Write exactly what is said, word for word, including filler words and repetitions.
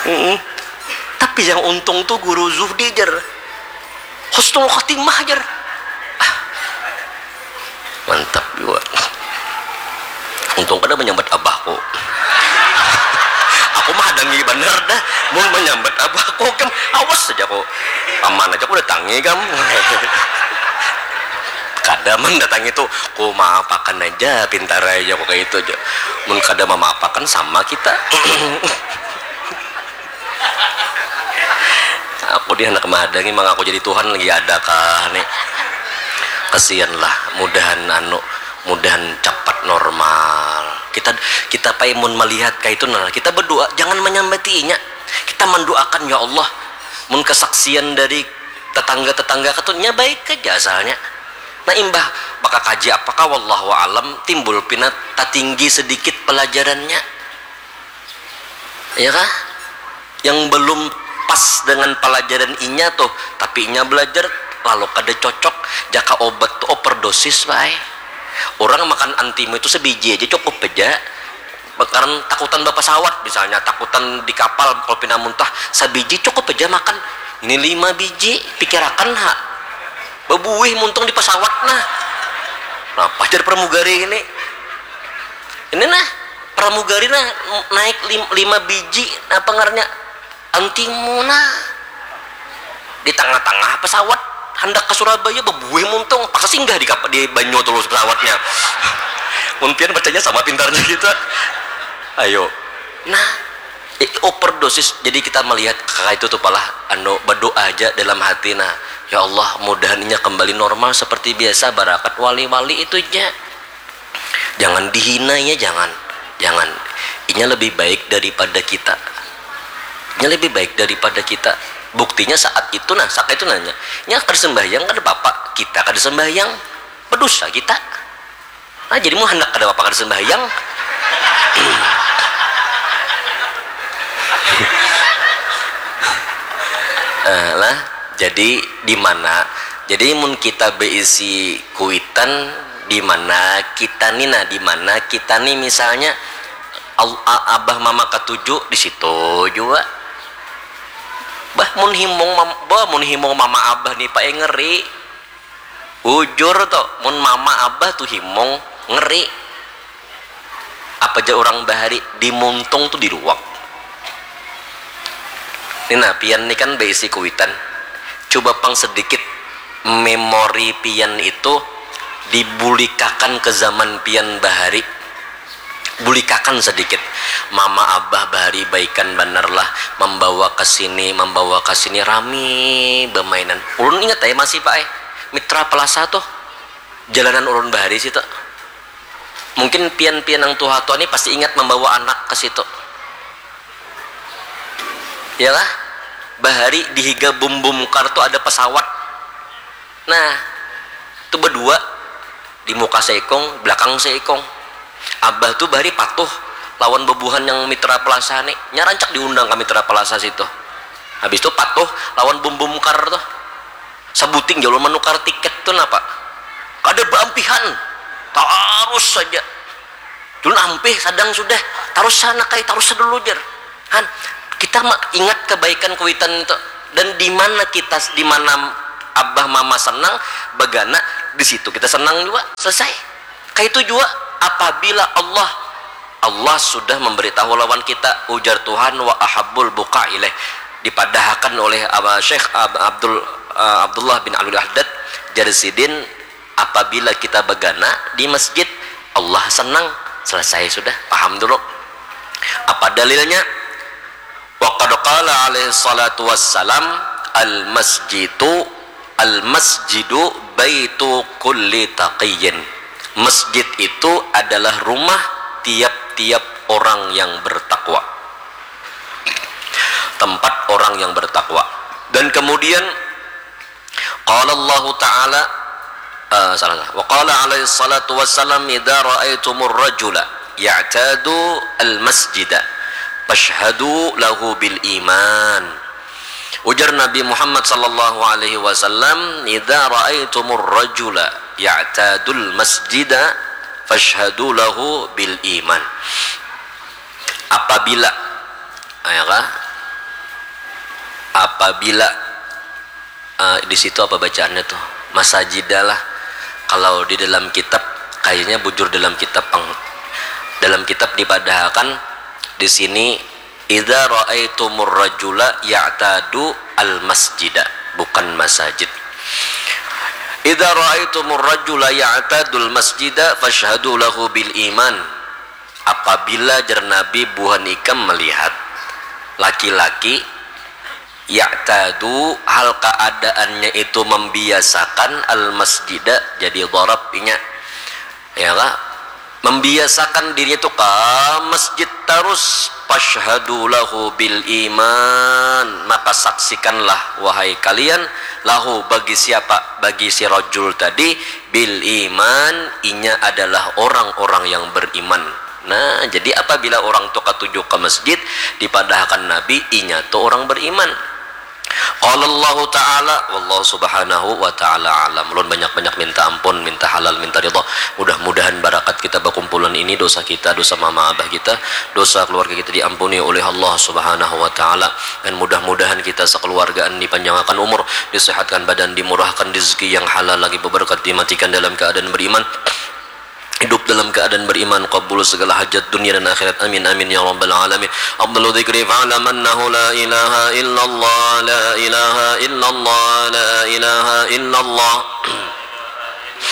Mm-mm. Tapi yang untung tuh guru Zuhdi, jar. Husnul khotimah, jar. Ah. Mantap juga. Untung kada menyambat abahku. Aku mah hadangi banar dah. Mun menyambat abahku, kam, awas saja ku. Paman aja ku datangi, kam. Kada mendatangi tuh, ku maapakan aja, pintar aja ku kayak itu aja. Mun kada mamaapakan, sama kita. Aku di anak mahadangi, mangaku jadi Tuhan lagi ada kah nih? Kasihan lah, mudahan anu, mudahan capat normal. Kita, kita pai mun melihat kayak itu, nah, kita berdoa, jangan menyambatinya. Kita mendoakan, ya Allah, mun kesaksian dari tetangga-tetangga katunya baik aja asalnya. Nah, imbah bakakaji apakah, wallahu alam, timbul pina tatinggi sedikit pelajarannya. Ya kah? Yang belum pas dengan pelajaran inya tuh, tapi inya belajar lalu kada cocok, jaka obat tuh overdosis bae. Orang makan antimu itu sebiji aja cukup aja. Karena takutan bapasawat misalnya, takutan di kapal kalau pina muntah, sabiji cukup aja makan. Ini lima biji, pikirakan ha. Bebuih muntung di pesawat nah. Nah, pajar pramugari ini. Ini nah, pramugari nah naik lim- lima biji, apa ngarannya? Antimu nah. Di tengah-tengah pesawat, hendak ke Surabaya, bebuih muntung, paksa singgah di kap- di banyu terus pesawatnya. Mun pian bacanya sama pintarnya kita. Ayo. Nah, i- overdosis. Jadi kita melihat kakak itu tuh palah anu berdoa aja dalam hati, nah, ya Allah, mudahan inya kembali normal seperti biasa, barakat wali-wali itu aja. Jangan dihina ya, jangan. Jangan. Inya lebih baik daripada kita. Inya lebih baik daripada kita. Buktinya saat itu nah, saat itu nanya, nya kada sembahyang kada apa-apa, kita kada sembahyang, berdosa kita. Nah, jadi mau hendak kada apa-apa kada sembahyang. Eh, lah, jadi di mana? Jadi mun kita beisi kuitan, di mana kita nih, nah, di mana kita nih, misalnya, al- a- abah mama katuju di situ juga. Bah, mun himung mam- bah, mun himung mama abah nih, Pak, eh, ngeri. Bujur to, mun mama abah tuh himung, ngeri. Apa ja urang bahari, di muntung tuh diruak. Ni nah, pian ni kan baisi kuitan. Cuba pang sedikit memori pian itu dibulikakan ke zaman pian bahari. Bulikakan sedikit. Mama abah bahari baikan banar lah, mambawa ka sini, mambawa ka sini, rami bamainan. Ulun ingat ai masih, Pak, ai. Mitra Plaza tuh. Jalanan ulun bahari situ. Mungkin pian-pian nang tuha-tuha ni pasti ingat mambawa anak ka situ. Ya lah? Bahari di higa bum-bum kar tu ada pesawat. Nah, tu badua, di muka saikung, belakang saikung. Abah tu bahari patuh lawan bubuhan yang Mitra Plaza ni. Nya rancak diundang ka Mitra Plaza situ. Habis tu patuh lawan bum-bum kar tu. Sabuting jar ulun manukar tiket tu napa? Kada baampihan. Tarus saja. Ulun ampih sadang sudah. Tarus sana kai, tarus dulu jar. Han, kita ma- ingat kebaikan kuitan tu. Dan di mana kita, di mana abah mama senang, bagana, di situ kita senang jua. Selesai. Kaitu jua apabila Allah, Allah sudah memberitahu lawan kita, ujar Tuhan, "Wa ahabbul buqa ilaih." Dipadahakan oleh Aba Syekh Ab- Abdul eh, Abdullah bin Alwi Haddad, jar sidin, apabila kita bagana di masjid, Allah senang. Selesai sudah, paham dulu. Apa dalilnya? Wa qad qala alaihi salatu wassalam, "Al masjidu, al masjidu baitu kulli taqiyyin." Masjid itu adalah rumah tiap-tiap orang yang bertakwa. Tempat orang yang bertakwa. Dan kemudian qala Allahu ta'ala, eh, salah, salah. Wa qala alaihi salatu wassalam, "Idza ra'aitumur rajula ya'tadu al masjida fashhadu lahu bil iman." Ujar Nabi Muhammad sallallahu alaihi wasallam, "Idza ra'aitumur rajula ya'tadul masjida fashhadu lahu bil iman." Apabila, ya kah? Apabila uh, di situ apa bacaannya tuh? Masajida lah. Kalau di dalam kitab, kayaknya bujur dalam kitab pang, dalam kitab dipadahakan di sini, "Idza raaitumur rajula ya'tadu al masjida," bukan masajid. "Idza raaitumur rajula ya'tadul masjida fashhadu lahu bil iman." Apabila, jar Nabi, buhan ikam melihat laki-laki ya'tadu, hal keadaannya itu membiasakan, al masjida, jadi dharab inya, ya kah? Membiasakan dirinya itu ka masjid tarus, fashhadu lahu bil iman, maka saksikanlah, wahai kalian, lahu, bagi siapa? Bagi si rajul tadi, bil iman, inya adalah orang-orang yang beriman. Nah, jadi apabila orang tu katuju ka masjid, dipadahakan Nabi, inya tu orang beriman. Qala Allahu Ta'ala, wallahu subhanahu wa ta'ala alam. Ulun banyak-banyak minta ampun, minta halal, minta ridha. Mudah-mudahan barakat kita bakumpulan ini, dosa kita, dosa mama abah kita, dosa keluarga kita diampuni oleh Allah Subhanahu wa Ta'ala. Dan mudah-mudahan kita sekeluargaan dipanjangakan umur, disehatkan badan, dimurahkan rezeki yang halal lagi beberkat, dimatikan dalam keadaan beriman, hidup dalam keadaan beriman, kabul segala hajat dunia dan akhirat. Amin, amin, ya rabbal alamin. Afdalu dzikri fa'lam annahu la ilaha illallah, la ilaha illallah, la ilaha illallah.